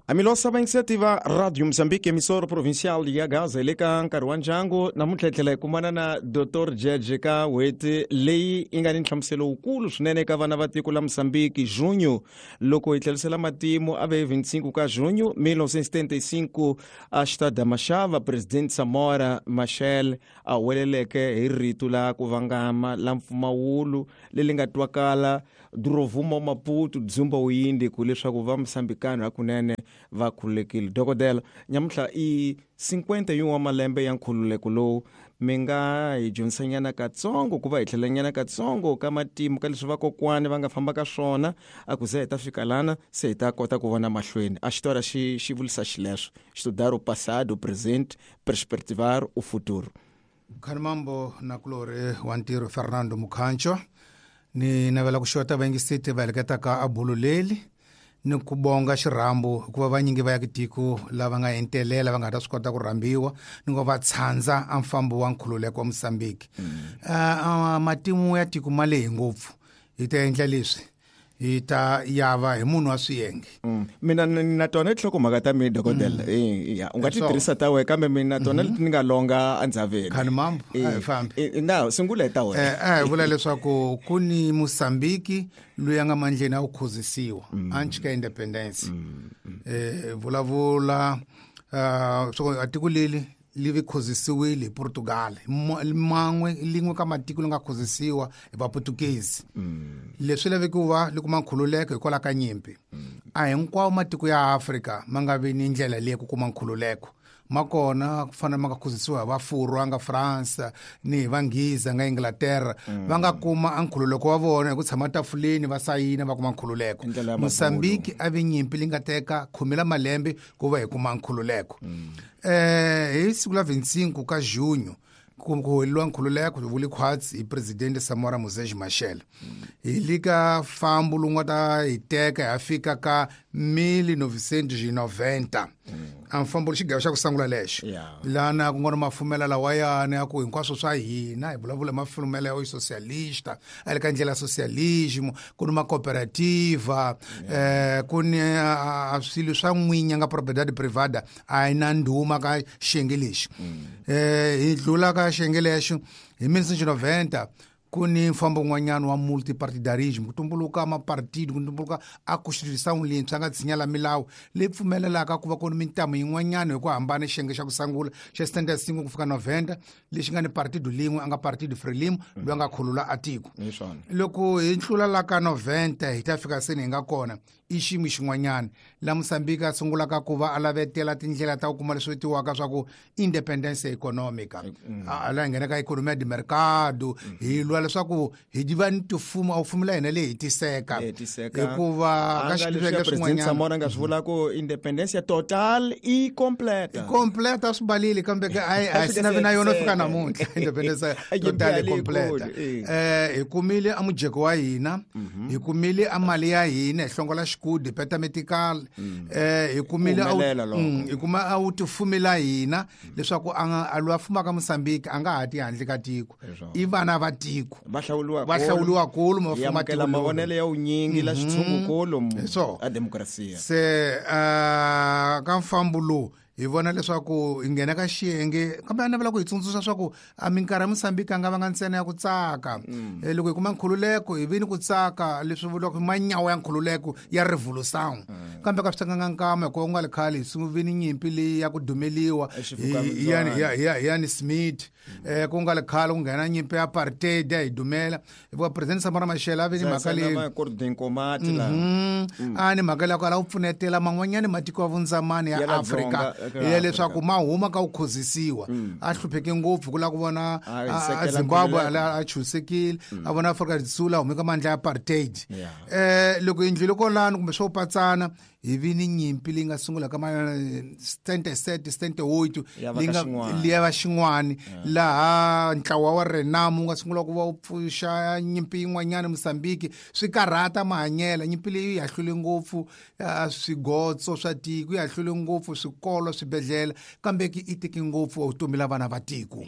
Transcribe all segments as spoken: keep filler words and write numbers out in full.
Amilosa va inisiativa Radio Mozambique, emissora provincial ya Gaza, le ka nkarhi wa ndyangu. Namuntlha hi tlhela hi kumana na Doctor Jeje ka n'hweti leyi yi nga ni nhlamuselo wukulu swinene eka vana va tiko la Mozambique, junho. Loko hi tlherisela matimu, a ve vinte e cinco ka junho mil novecentos e setenta e cinco, a Xitade Machava, presidente Samora Machel a huweleleke hi rito la ku vangama la mpfumawulo leri nga twakala Durovuma, Maputo, Dzumba, Uyindi, ku leswaku va Mosambikano hakunene va khululekile. Dokodela, nyamuntlha i cinquenta e um wa malembe ya nkhululeko lowu. Mi nga hi dyondzisanyana katsongo, ku va hi tlhelanyana katsongo ka matimu, ka leswi vakokwani va nga famba ka swona, a ku ze hi ta fika lana, se hi ta kota ku vona mahlweni? A xitora xi xi vulisa xileswo: estudar o passado, o presente, perspectivar o futuro. Khanimambo nakulori wa ntirho Fernando Mukhancho, ni navela ku xota vayingiseti va heleketaka a bulu leli, ni ku bonga xirhambo, hikuva vanyingi va ya tiko lava nga entelela va nga ta swi kota ku rhambiwa, ni ngo va tshandza a mfambo wa nkhululeko wa Mosambiki. mm. uh, matimu ya tiko ma lehi ngopfu, hi ta endla leswi, hi ta yava hi munhu wa swiyenge. mm. mina na tona tinhlokomhaka ta mina, dokodela. mm. Ya, u nga ti tirhisa ta wena, kambe mina tona leti ni nga longa endzhaveni. Khani mambo, a hi fambi. Na sungula hi ta wena. Eh, a hi vula leswaku ku ni Mosambiki loyi a nga mandleni a wu khuzisiwa anchi ka independence. eh vulavula uh, so a tiko leli li vi khuzisiwile hi Portugal, man'we lin'we ka matiko li nga khuzisiwa hi Vaputukezi. Leswi laveki ku va li kuma nkhululeko hikwalaho ka nyimpi. A hinkwawo matiko ya Afrika ma nga vi ni ndlela leyi ku kuma nkhululeko ma kona, ku fana ma nga khuzisiwa hi Vafurwa nga France ni hi Vanghiza nga Inglaterra, va nga kuma a nkhululeko wa vona hi ku tshama tafuleni va sayina va kuma nkhululeko. Mosambiki a vi nyimpi li nga teka khume la malembe ku va hi kuma nkhululeko. eh hi siku la vinte e cinco ka junho ku huweleliwa nkhululeko, vuli khwatsi hi presidente Samora Moses Machel. Hi le ka fambo lowu nga ta hi teka hi ya fika ka mil novecentos e noventa, a mfambo xigayo xa ku sungula lexo lana ku nga ri mafumela lawayani ya ku hinkwaswo swa hina, hi vulavula hi mafumela ya socialista, a le ka ndlela ya socialismo, ku ni macooperativa, eh ku ni swilo swa n'winya nga propriedade privada, a yi na ndhuma ka xiyenge lexi. eh hi dlula ka xiyenge lexo hi mil novecentos e noventa, ku ni mfambo wun'wanyana wa multipartidarism, ku tumbuluka mapartido, ku tumbuluka a constituição leyintshwa nga tshinya la milawu leyi pfumelelaka ku va ku ni mintamu yin'wanyana hi ku hambana. Xiyenge xa ku sungula xa setenta e cinco ku fika noventa lexi nga ni partido lin'we, a nga Partido Frelimo, loyi a nga khulula a tiko. Loko hi tlula la ka noventa, hi ta fika seni hi nga kona i xiyimo xin'wanyana la Mosambiki a sungulaka ku va a lavetela tindlela ta ku kuma leswi vitiwaka swa ku independence economica, a la hi nghena ka economia de mercado, hi lwa leswaku hi va ni tifumo a wu fumi la hina leyi hetiseka, hikuva ka xiyenge swin'wanyana Samora nga swi vula ku independencia total i completa. Completa swi balile, kambe a hi sina vi na yona fika namuntlha independence total i completa. eh hi kumile a mujeko wa hina, hi kumile a mali ya hina, hi hlongola xikudi, peta metical. eh hi kumile hi kuma a wu tifumela hina, leswaku a a loyi a fumaka Mosambiki a nga ha ti handle ka tiko, i vana va tiko. Va hlawuliwa. Va hlawuliwa kulu, ma fuma tiko, mavonelo ya wunyingi la xitshungukulu a demokrasiya. Se ka mfambo lowu hi vona leswaku hi nghena ka xiyenge, kambe a navela ku hi tsundzuxa swa ku a minkarhi ya Mosambiki a nga vanga ntsena ya ku tsaka. Loko hi kuma nkhululeko hi vi ni ku tsaka, leswi vuriwaka manyawa ya nkhululeko ya revolution, kambe ka swi tekanga nkama, hikuva ku nga li khale hi vi ni nyimpi leyi ya ku dumeliwa hi Ian Smith. eh ku nga li khale ku nghena nyimpi ya apartheid ya hi dumela, hikuva president Samora Machel a vi ni mhaka leyi a ni mhaka leyi ku ala ku pfunetela man'wanyani matiko ya vundzamani ya Afrika ya leswaku ma huma ka ku khozisiwa. A hlupheke ngopfu ku lava ku vona Zimbabwe a chusekile, a vona Afrika do Sul a hume ka mandla ya apartheid. eh loko hi ndlule kolano kumbe swo patsana, hi vi ni nyimpi leyi nga sungula ka ma setenta e sete, setenta e oito, leyi va xin'wani, laha ntlawa wa Renamo wu nga sungula ku va wu pfuxa nyimpi yin'wanyana Mosambiki, swi karhata mahanyela. Nyimpi leyi yi hahlule ngopfu swigotso swa tiko, yi hahlule ngopfu swikolo, swibedhlele, kambe ki i teke ngopfu vutomi la vana va tiko.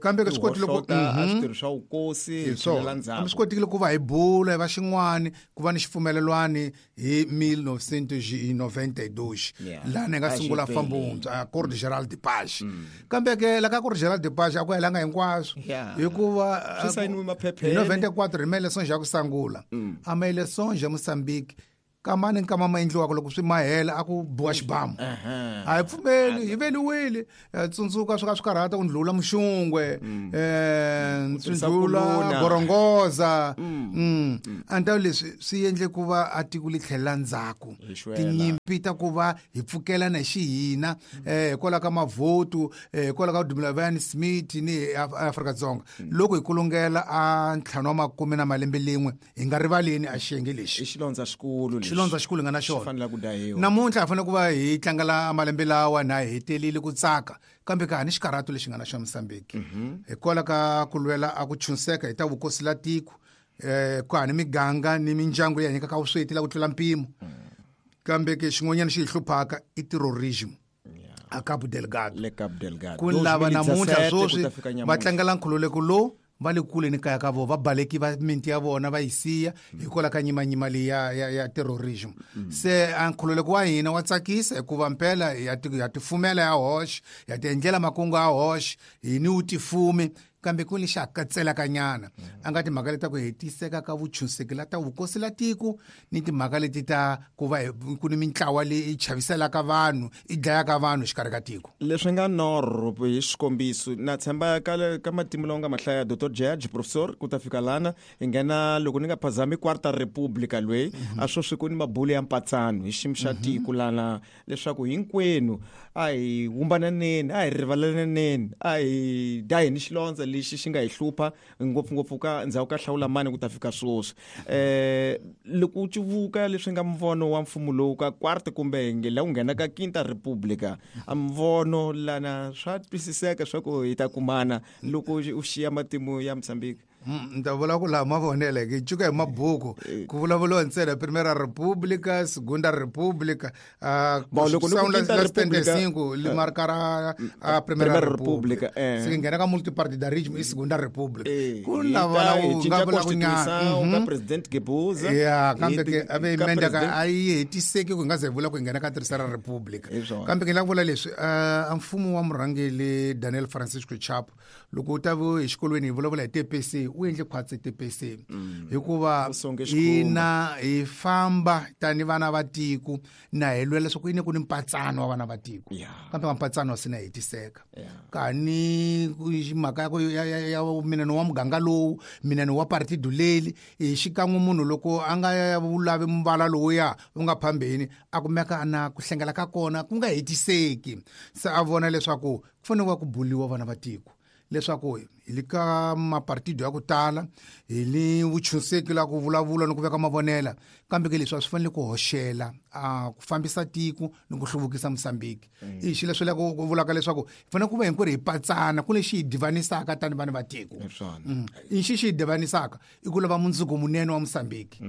Kambe swi kotile ku switirho swa vukosi. Swi kotekile ku va hi bula hi va xin'wani, ku va ni xipfumelelwani hi mil novecentos e noventa e dois laha ni nga sungula mfambo wuntshwa Acordo Geral de Paz. Kambe ke la ka Acordo Geral de Paz a ku helanga hinkwaswo hikuva swi sayiniwe maphepheni hi noventa e quatro hi ma-elections ya ku sungula a ma-elections ya Mozambique kamani nkama ma endliwaka loko swi mahela a ku biwa xibamu a hi pfumeli hi veliwile tsundzuka swi ka swi karhata ku ndlula muxungwe um swi ndlula gorongoza a ni ta leswi swi endle ku va a tiko li tlhelela ndzhaku tinyimpi ta ku va hi pfukelana hi xihina um hikwalaho ka mavhotu hikwalaho ka Dumila Van Smith ni Afrika-Dzonga loko hi kulungela a ntlhanu wa makume na malembe lin'we hi nga rivaleni a xiyenge lexi i xilondza xikulu xilondza xikulu nga na xona namuntlha hi fanele ku va hi tlangela malembe lawa na hi hetelile ku tsaka kambe ka ha ni xikarhato lexi nga na xa Mozambique hikwalaho ka ku lwela a ku chunseka hi ta vukosi la tiko um ku ha ni miganga ni mindyangu leyi hanyaka ka vusweti la ku tlula mpimo kambe ke xin'wanyana xi hi hluphaka i terrorism a Cabo Delgado le Cabo Delgado ku lava namuntlha sweswi va tlangela nkhululeko lowu va le kule ni kaya ka vona va baleki va miti ya vona va yi siya hikwalaho ka nyimanyima leyi ya ya ya terrorism se a nkhululeko wa hina wa tsakisa hikuva mpela ya ya tifumela ya hoxa ya ti endlela makungu ya hoxa hi ni wu tifumi kambe ku lexi hakatselaka nyana a nga timhaka leti ta ku hetiseka ka vuchunseki la ta vukosi la tiko ni timhaka leti ta ku va ku ni mintlawa leyi chaviselaka vanhu i dlayaka vanhu xikarhi ka tiko leswi nga norho hi xikombiso na tshemba ka ka matimu lawa nga mahlaya Doctor Judge professor ku ta fika lana hi nghena loko ni nga phazami Quarta Republica lweyi a sweswi ku ni mabulu ya mpatsano hi xiyimo xa tiko lana leswaku hinkwenu a hi wumbananeni a hi rivalelaneni a hi daheni xilondza lexi xi nga hi hlupha ngopfungopfu ka ndzhaku ka hlawula mani ku ta fika sweswi eh loko u civuka leswi nga mvono wa mfumo lowu ka quarta kumbe la ku nghena ka Quinta Republica a mvono lana swa twisiseka swa ku hi ta kumana loko u xiya matimu ya Mozambique. Ni ta vula ku laha mavonele hi cuka hi mabuku ku vulavuriwa ntsena Primeira República, Segunda República, setenta e cinco li markara a Primeira República se nghena ka multipartidarismo i Segunda República ku lava la u nga vula ku nyana ka President Gebuza ya kambe ke a ve menda ka a yi hetiseki ku nga ze vula ku nghena ka Terceira República kambe ke la vula leswi a mfumo wa murhangeri Daniel Francisco Chapo loko u ta vu exikolweni hi vulavula hi T P C u endle khwatsi T P C hikuva hina hi famba tani vana va tiko na hi lwela leswaku yini ku ni mpatsano wa vana va tiko kambe mpatsano swi na hetiseka kani mhaka ya ku ya mina ni wa muganga lowu mina ni wa partido leli hi xikan'we munhu loko a nga vulavi muvala lowuya wu nga phambeni a kumeka na ku hlengela ka kona ku nga hetiseki se a vona leswaku ku fanele ku buliwa vana va tiko leswaku hi le ka mapartido ya ku tala hi ni vuchunseki la ku vulavula ni ku veka mavonela kambe ke leswi a swi fanele ku hoxela a ku fambisa tiko ni ku hluvukisa Mozambique i xilo leswi la ku vulaka leswaku hi fanele ku va hinkwerhu hi patsana ku lexi hi divanisaka tani vanhu va tiko i xi xi hi divanisaka i ku lava mundzuku munene wa Mozambique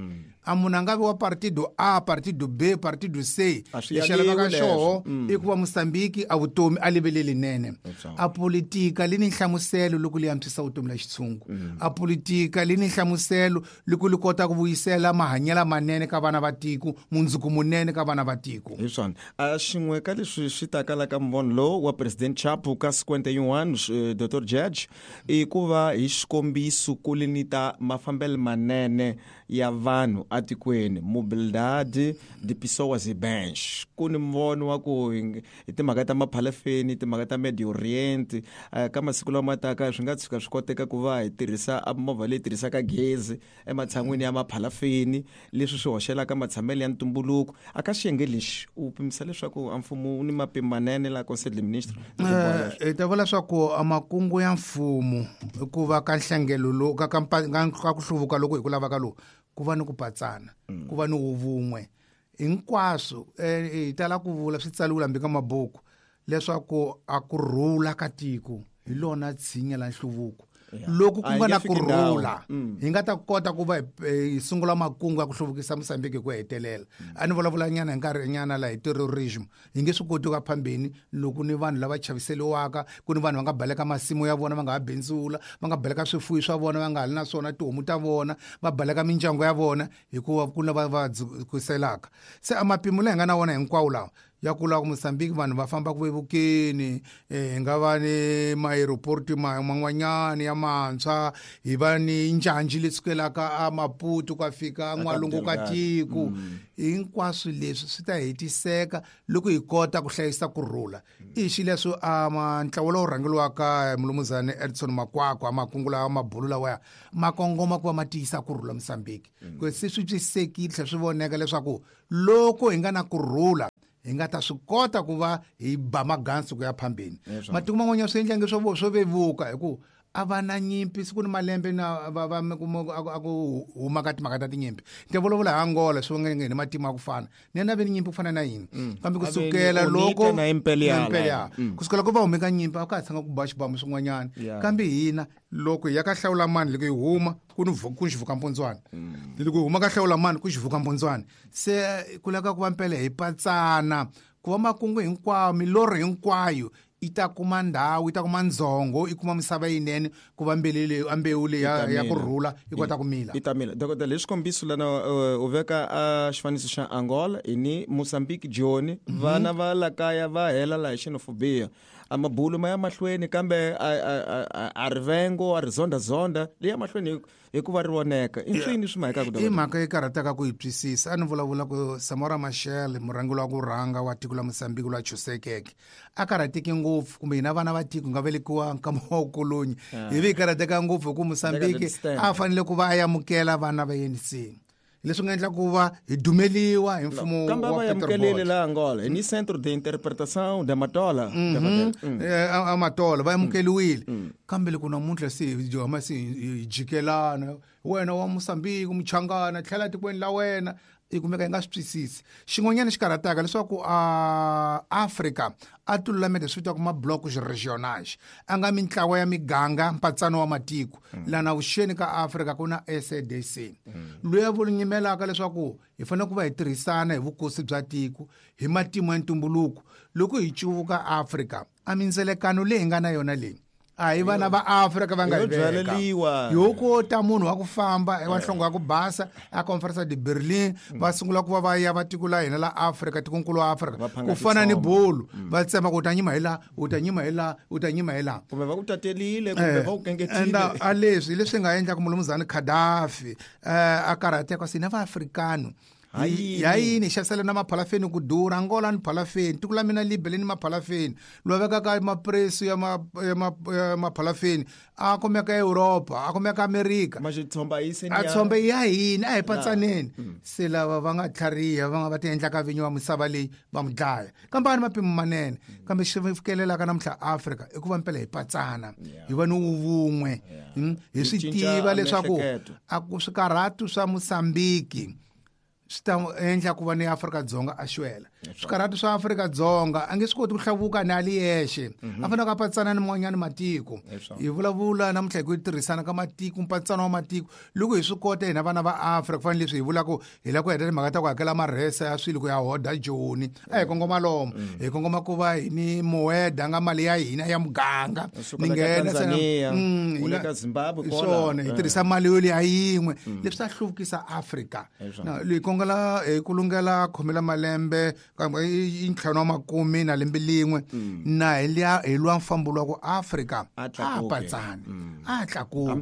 a munhu a nga vi wa partido A partido B partido C lexi a lavaka xoho i ku va Mozambique a vutomi a livele linene a politika li ni nhlamuselo loko li antswisa vutomi la xitshungu a politika li ni nhlamuselo loko li kota ku vuyisela mahanyelo manene ka vana va tiko mundzuku munene ka vana va tiko hi swona a xin'we ka leswi swi taka la ka mvono lowu wa President Chapo ka cinquenta e um Doctor Judge i ku va hi xikombiso ku li ni ta mafambelo manene ya vanhu atikweni mobilidade de pessoas e bens ku ni mvono wa ku hi timhaka ta maphalafeni timhaka ta Medio Oriente ka masiku lama taka swi nga tshuka swi koteka ku va hi tirhisa movha leyi tirhisaka gezi ematshan'wini ya maphalafeni leswi swi hoxelaka matshamelo ya ntumbuluko a ka xiyenge lexi u pimisa leswaku a mfumo wu ni mapimo manene la Conselho de Ministro hi ta vula leswaku a makungu ya mfumo i ku va ka nhlengelo lowu ka ka ka ku hluvuka loko hi ku lavaka lowu ku va ni ku patsana ku va ni vun'we hinkwaswo hi tala ku vula swi tsariwile hambi ka mabuku leswaku a ku rhula ka tiko hi lona tshinya la nhluvuko Loko ku nga na kurhula hi nga ta kota ku va hi sungula makungu ya ku hluvukisa Mozambique hi ku hetelela. A ni vulavula nyana hi nkarhi nyana laha hi terrorism hi nge swi koti ku ya phambeni loko ni vanhu lava chaviseliwaka, ku ni vanhu va nga baleka masimu ya vona va nga ha bindzula, va nga baleka swifuwo swa vona va nga ha li na swona tihomu ta vona, va baleka mindyangu ya vona hikuva ku na va va dzukiselaka. Se a mapimo laha hi nga na wona hinkwawo lawa ya ku lava ku Mozambique vanhu va famba ku vevukeni, hi nga va ni ma-aeroport man'wanyana ya mantshwa, hi va ni njhanji leyi sukelaka a Maputo ku ya fika n'walungu ka tiko. Hinkwaswo leswi swi ta hetiseka loko hi kota ku hlayisa kurhula. I xileswo a ntlawa lowu rhangeriwaka hi mulumuzana Edson Makwakwa makungu lawa mabulu lawaya ma kongoma ku va ma tiyisa kurhula Mozambique. Ku se swi twisekile tlhela swi voneka leswaku loko hi nga na kurhula hi nga ta swi kota ku va hi ba magansi ku ya phambeni. Matiko man'wanyana swi endla nge swo swo vevuka hi ku a va na nyimpi siku ni malembe na va va a ku huma ka timhaka ta tinyimpi. Ni ta vulavula hi Angola swi nga ni matimu ya ku fana ni yena ve ni nyimpi ku fana na yini, kambe kusukela loko na imperial kusukela ku va hume ka nyimpi a ka ha tshanga ku ba xibamu swin'wanyana. Kambe hina loko hi ya ka hlawula mani loko hi huma ku ni ku xivuka mpundzwana, loko hi huma ka hlawula mani ku xivuka mpundzwana, se ku lava ku va mpela hi patsana ku va makungu hinkwawo milorho hinkwayo i ta kuma ndhawu, i ta kuma ndzhongo, i kuma misava yinene ku va mbewu leyi mbewu leyi ya ku rhula i kota ku mila. I ta mila. Dokodela, hi xikombiso lana u veka a xifaniso xa Angola ni Mozambique Joni, vana va la kaya va hela laha hi xenophobia. A mabulu ma ya mahlweni kambe a rivengo a ri zonda-zonda leyi ya mahlweni hikuva ri voneka. I swini swi mhaka ku i mhaka yi karhataka ku yi twisisa. A ni vulavula ku Samora Machel murhangeri wa ku rhanga wa tiko la Mozambique loyi a chusekeke a karhateke ngopfu, kumbe hina vana va tiko nga velekiwa nkama wa kolonyi hi vi hi karhateka ngopfu hi ku Mozambique a fanele ku va a amukela vana va A N C, leswi nga endla ku va hi dumeliwa hi mfumo wa Peter amukelile la Angola ni Centro de Interpretação da Matola a Matola va amukeliwile, kambe loko namuntlha se hi huma se hi jikelana, wena wa Mozambique muchangana tlhela tikweni la wena, i kumeka hi nga swi twisisi. Xin'wanyana xi karhataka leswaku a Afrika a ti lulamele swi vitiwaka ma-bloc régional, a nga mintlawa ya miganga mpatsano wa matiko. Lana vuxeni ka Afrika ku na S A D C loyi a vunyimelaka leswaku hi fanele ku va hi tirhisana hi vukosi bya tiko hi matimu ya ntumbuluko. Loko hi cuvuka Afrika a mindzelekano leyi hi nga na yona leyi a hi vana va Afrika va nga hi veka yo kota munhu wa ku famba wa nhlongo ya ku basa a Conference de Berlin va sungula ku va va ya va tiko la hina la Afrika tikonkulu wa Afrika ku fana ni bolo va tsema ku u ta nyima hi laha u ta nyima hi laha u ta nyima hi laha kumbe va ku tatelile kumbe va ku kengetile. Enda a leswi leswi nga endla ku mulumuzana Gaddafi a karhateka sina va Afrikano ya yini xavisela na maphalafeni ku durha. Angola ni phalafeni, tiko la mina Libya ni maphalafeni, loyi vekaka mapresu ya ma ya maphalafeni a kumeka Europa a kumeka Amerika a tshomba ya hina a hi patsaneni. Se lava va nga tlhariha va nga va ti endlaka vinyi wa misava leyi va mu dlaya, kambe a ni mapimo manene. Kambe xi fikelelaka namuntlha Afrika i ku va mpela hi patsana hi va ni vun'we, hi swi tiva leswaku a ku swikarhatu swa Mozambique swi ta endla ku va ni Afrika-Dzonga a xwela. Swikarhatu swa Afrika-Dzonga a nge swi koti ku hlavuka ni a li yexe, a fanele ku patsana ni man'wanyana matiko. Hi vulavula namuntlha hi ku tirhisana ka matiko, mpatsano wa matiko. Loko hi swi kota hina vana va Afrika ku fana leswi hi vulaka hi lava ku heta timhaka ta ku hakela marhesa ya swilo ku ya hoda Joni, a hi kongoma lomu hi kongoma ku va hi ni moeda nga mali ya hina ya muganga ni nghena swona hi tirhisa mali yo leyi yin'we leswi ta hluvukisa Afrika. Leyi kongela hi ku lungela khomela malembe i ntlhanu wa makume na lembe lin'we na hi liya hi lwa mfambo lwa ku Afrika a patsana a tlakuka a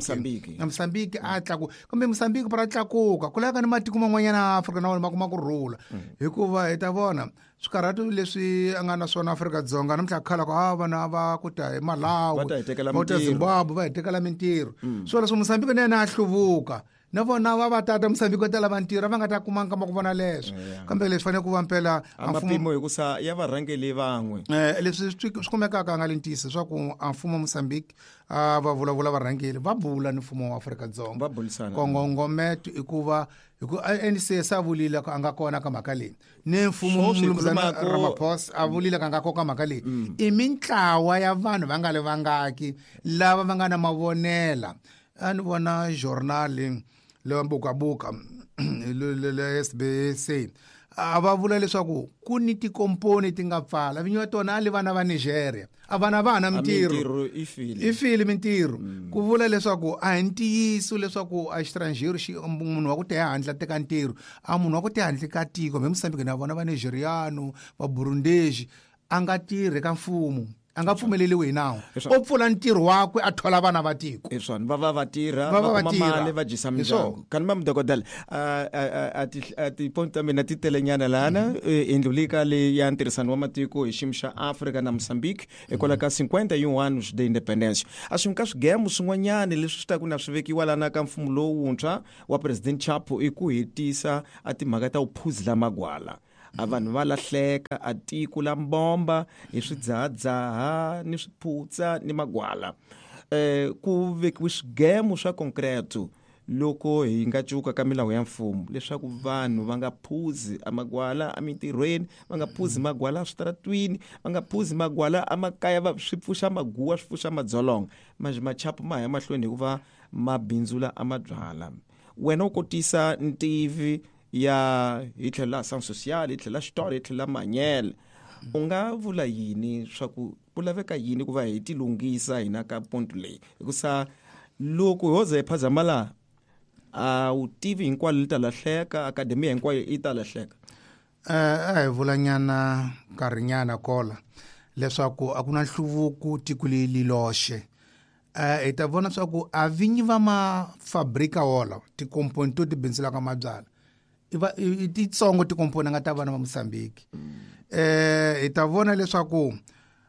Mozambique a tlakuka, kambe Mozambique para tlakuka ku laveka ni matiko man'wanyana ya Afrika na wona ma kuma ku rhula, hikuva hi ta vona swikarhatu leswi a nga na swona Afrika-Dzonga namuntlha khala ku a vana va ku ta hi Malawi va ta Zimbabwe va hi tekela mintirho. Swona leswi Mozambique na yena a hluvuka Na vona va va tata Mozambique va ta lava ntirho va nga ta kuma nkama ku vona leswo. Kambe leswi fanele ku va mpela a mapimo hi ku sa ya varhangeli van'we. Eh leswi swi kumekaka nga le ntiyiso swa ku a mfumo wa Mozambique a va vulavula varhangeli va bula ni mfumo wa Afrika-Dzonga. Va bulisana. Kongongometo i ku va hi ku A N C sa vulile ku a nga kona ka mhaka leyi. Ni mfumo Ramaphosa a vulile ka nga kona ka mhaka leyi. I mintlawa ya vanhu va nga le vangaki lava va nga na mavonela. A ni vona journal leyi bukabuka le S B C a va vula leswaku ku ni tikomponi ti nga pfala vinyi va tona a li vana va Nigeria a vana va na mintirho i file mintirho ku vula leswaku a hi ntiyiso leswaku a xitranjero xi munhu wa ku te handle teka ntirho a munhu wa ku te handle ka tiko me Mozambique na vona va Nigeriano va Burundesi a nga tirhi ka mfumo a nga pfumeleliwi hi nawu o pfula ntirho wakwe a thola vana va tiko hi swona va va va tirha va kuma mali va dyisa mindyangu kani ma mdokodela a a tipoint ta mina ti telenyana lana indlulika le ya ntirhisano wa matiko hi xiyimo xa Afrika na Mozambique hikwalaho ka cinquenta e um anos de independência a swi ka swigemu swin'wanyana leswi swi ta ku na swi vekiwa lana ka mfumo lowuntshwa wa President Chapo i ku hetisa a timhaka ta vuphuzila magwala a vanhu va lahleka a tiko la mbomba hi swidzahadzaha ni swiphutsa ni magwala eh ku vekiwe swigemu swa concreto loko hi nga cuka ka milawu ya mfumo leswaku vanhu va nga phuzi amagwala emitirhweni va nga phuzi magwala eswitaratwini va nga phuzi magwala emakaya va swi pfuxa maguwa swi pfuxa madzolonga manje machapo ma ya mahlweni hikuva mabindzula amabyala wena u kotisa ntivi ya hi tlhelo la science social hi tlhelo la xitori hi tlhelo la manyele u nga vula yini swa ku ku laveka yini ku va hi tilunghisa hina ka ponto leyi hikusa loko ho ze hi phazama laha a wu tivi hinkwalo li ta lahleka akademiya hinkwayo yi ta lahleka eh a hi vulanyana nkarhinyana kola leswaku a ku na nhluvuko tiko leri loxe eh hi ta vona swa ku a vinyi va mafabrika wola tikomponi to ti bindzulaka mabyala iva i titsongo tikomponi nga ta vana va Mozambique eh hi ta vona leswaku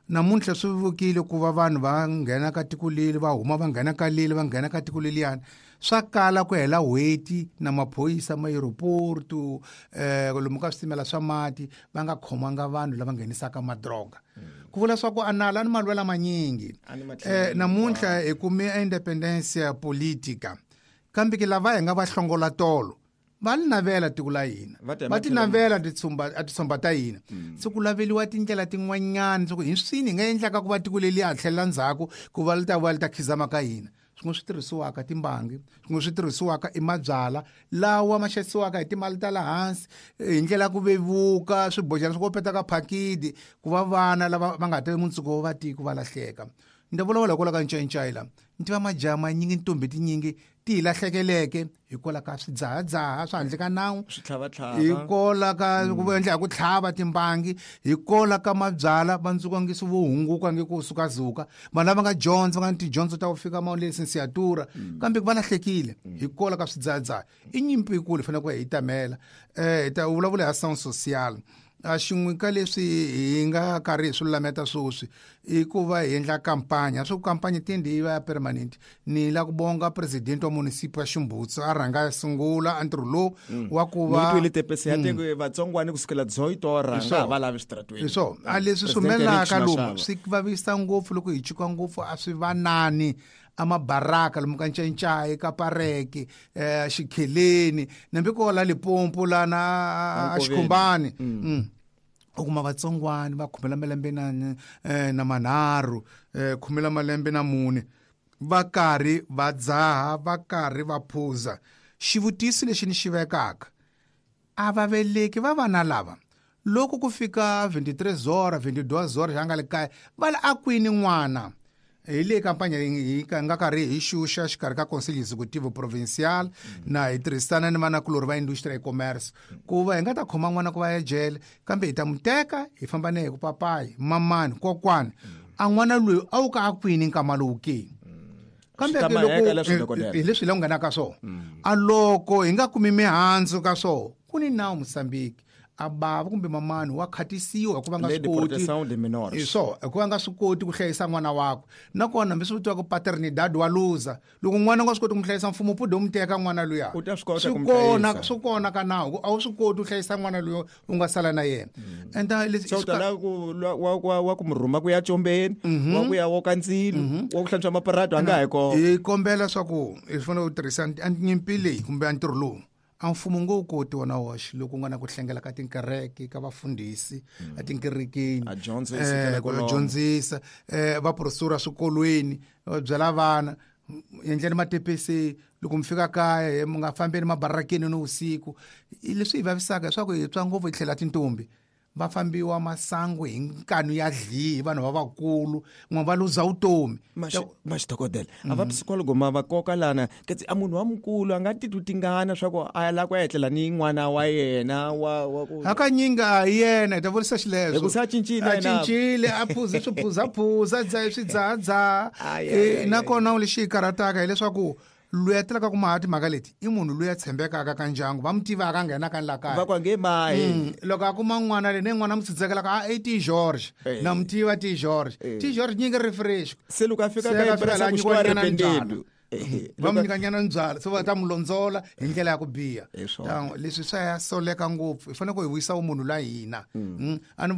namuntlha swi vukile ku va vanhu va nghena ka tiko leri va huma va nghena ka leri va nghena ka tiko leliyani swa kala ku hela n'hweti na maphorisa ma aeroporto eh lomu ka switimela swa mati va nga khomanga vanhu lava nghenisaka madroga ku vula swa ku a nala ni malwela manyingi eh namuntlha hi kume independence politica kambe ke lava hi nga va hlongola tolo va li navela tiko la hina va ti navela titsumba a titsumba ta hina se ku laveliwa tindlela tin'wanyana swa ku hi swini hi nga endlaka ku va tiko leri ha tlhelela ndzhaku ku va li ta va li ta khizama ka hina swin'we swi tirhisiwaka timbangi swin'we swi tirhisiwaka i mabyala lawa ma xavisiwaka hi timali ta le hansi hi ndlela ya ku vevuka swibojana swi kopeta ka phakidi ku va vana lava va nga tivi mundzuku wa tiko va lahleka ni ta vulavula hikwalaho ka ncayicayi la ni tiva majaha manyingi ntombi tinyingi ti hi lahlekeleke hikwalaho ka swidzahadzaha swa handle ka nawu hikwalaho ka ku endla hi ku tlhava timbangi hikwalaho ka mabyala va ndzukangisi vo hunguka nge ku sukazuka vanhu lava nga dyondza va nga ni tidyondzo ta ku fika ma lisensiatura kambe va lahlekile hikwalaho ka swidzahadzaha i nyimpi yikulu hi fanele ku hi tamela um hi ta vulavula hi sound social a xin'we ka leswi hi nga karhi hi swi lulameta sweswi i ku va hi endla kampanya swa ku kampanya tindi yi va ya permanent ni la ku bonga president wa municipal ya Ximbutsu a rhanga a sungula a ntirho lowu wa ku va ni twile tepese ya teko vatsongwani kusukela dzoyitora nga va lavi switaratweni hi swona a leswi swi humelelaka lomu swi vavisa ngopfu loko hi chuka ngopfu a swi vanani amabaraka lomu ka ncayicayi ka pareke eh xikheleni nambi ko la Limpopo lana a Xikhumbani u kuma vatsongwani va khumela malembe na na manharhu khumela malembe na mune va karhi va dzaha va karhi va phuza xivutiso lexi ni xi vekaka a va veleki va vana lava loko ku fika veintitrés horas veintidós horas xa nga le kaya va le a kwini n'wana hi le kampanya hi nga karhi hi xuxa xikarhi ka Conselho Executivo Provincial na hi tirhisana ni vanakulorhi va industry ya commerce ku va hi nga ta khoma n'wana ku va ya jele kambe hi ta mu teka hi famba na hi ku papayi mamani kokwani a n'wana loyi a wu ka a kwini nkama lowu ke kambe loko hi leswi hi la ku nghenaka swona a loko hi nga kumi mihandzu ka swona ku ni nawu Mozambique A bava kumbe mamani wa khatisiwa hikuva nga swi koti so hikuva nga swi koti ku hlayisa n'wana wakwe. Nakona hambi swi vitiwaka paternidad wa luza, loko n'wana nga swi koti ku hlayisa mfumo pude wu mu teka n'wana luya. Swi kona swi kona ka nawu a wu swi koti ku hlayisa n'wana luya u nga sala na yena. And leswi tala ku wa wa ku mu rhuma ku ya combeni, wa ku ya woka ndzilo, wa ku hlantswa maparado a nga ha kona. Hi kombela swa ku hi fanele u tirhisa nyimpi leyi kumbe a ntirho lowu a mfumo ngo koti wona woxe loko ku nga na ku hlengela ka tinkereke ka vafundhisi a tinkerekeni a dyondzisa ku dyondzisa eh vaprofesora swikolweni va byela vana endleni matepesi loko mi fika kaya mi nga fambeni mabarakeni ni vusiku. Leswi hi vavisaka leswaku hi twa ngopfu hi tlhela tintombi va fambiwa masangu hi nkanu ya dlihi vanhu va vakulu n'we va luza vutomi. Maxi dokodela a va psikologo ma va koka lana katsi a munhu wa mukulu a nga titwi tingana swa ku a ya lava ku ya etlela ni n'wana wa yena wa wa ku hakanyingi a hi yena hi ta vurisa xileswo hi ku se a cincile a cincile a phuze swiphuzaphuza dzaha swidzahadzaha. Nakona lexi hi karhataka hileswaku loyi a telaka ku maha timhaka leti i munhu loyi a tshembekaka ka ndyangu va mu tivaka a nghenaka ni la kaya va ku a nge mahi. Loko a kuma n'wana leyi ne n'wana mu tsitsekelaka a i ti George na mu tiva ti George ti George nyingi ri fresh se loko a fika ka ka nyikiwa nyana va mu nyika nyana nbyala se va ta mu londzola hi ndlela ya ku biha. Leswi swa ya soleka ngopfu hi fanele ku hi vuyisa vumunhu la hina. A ni